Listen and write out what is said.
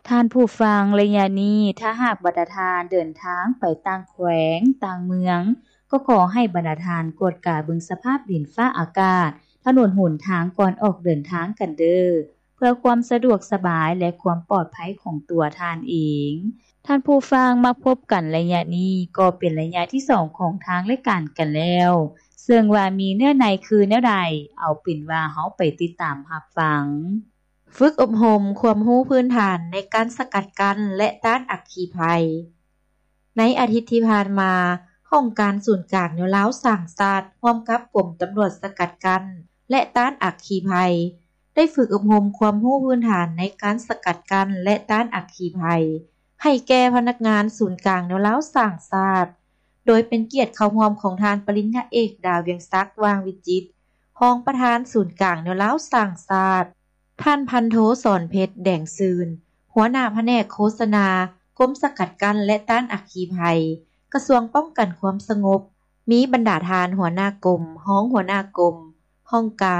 ທ່ານຜູ້ຟັງ, ໄລຍະນີ້ ຖ້າຫາກບັນດາທ່ານເດີນທາງໄປຕ່າງແຂວງ, ຕ່າງເມືອງ, ກໍຂໍໃຫ້ບັນດາທ່ານກວດກາເບິ່ງສະພາບດິນຟ້າອາກາດ, ຖະໜົນຫົນທາງກ່ອນອອກເດີນທາງກັນເດີ້ ເພື່ອຄວາມສະດວກສະບາຍ ແລະ ຄວາມປອດໄພຂອງຕົວທ່ານເອງ. ທ່ານຜູ້ຟັງ, ມາພົບກັນໄລຍະນີ້ກໍເປັນໄລຍະທີສອງຂອງທາງລາຍການກັນແລ້ວ, ເຊິ່ງວ່າມີເນື້ອໃນຄືແນວໃດ, ເອົາເປັນວ່າເຮົາໄປຕິດຕາມຮັບຟັງ. ຝຶກອົບຮົມຄວາມຮູ້ພື້ນຖານໃນການສະກັດກັ້ນ ແລະ ຕ້ານອັກຄີໄພ. ໃນອາທິດທີ່ຜ່ານມາ, ຫ້ອງການສູນກາງແນວລາວສ້າງຊາດ ຮ່ວມກັບກົມຕຳຫຼວດສະກັດກັ້ນ ແລະ ຕ້ານອັກຄີໄພ ໄດ້ຝຶກອົບຮົມຄວາມຮູ້ພື້ນຖານໃນການສະກັດກັ້ນ ແລະ ຕ້ານອັກຄີໄພ ໃຫ້ແກ່ພະນັກງານສູນກາງແນວລາວສ້າງຊາດ, ໂດຍເປັນກຽດເຂົ້າຮ່ວມຂອງທ່ານປະລິນຍາເອກ ດາວຽງສັກ ຫວ່າງວິຈິດ ຮອງປະທານສູນກາງແນວລາວສ້າງຊາດ, ທ່ານພັນໂທ ສອນເພັດ ແດງຊື່ນ ຫົວໜ້າພະແນກໂຄສະນາ ກົມສະກັດກັ້ນ ແລະ ຕ້ານອັກຄີໄພ ກະຊວງປ້ອງກັນຄວາມສະຫງົບ, ມີບັນດາທ່ານຫົວໜ້າກົມ, ຮອງຫົວໜ້າກົມ, ຫ້ອງການ,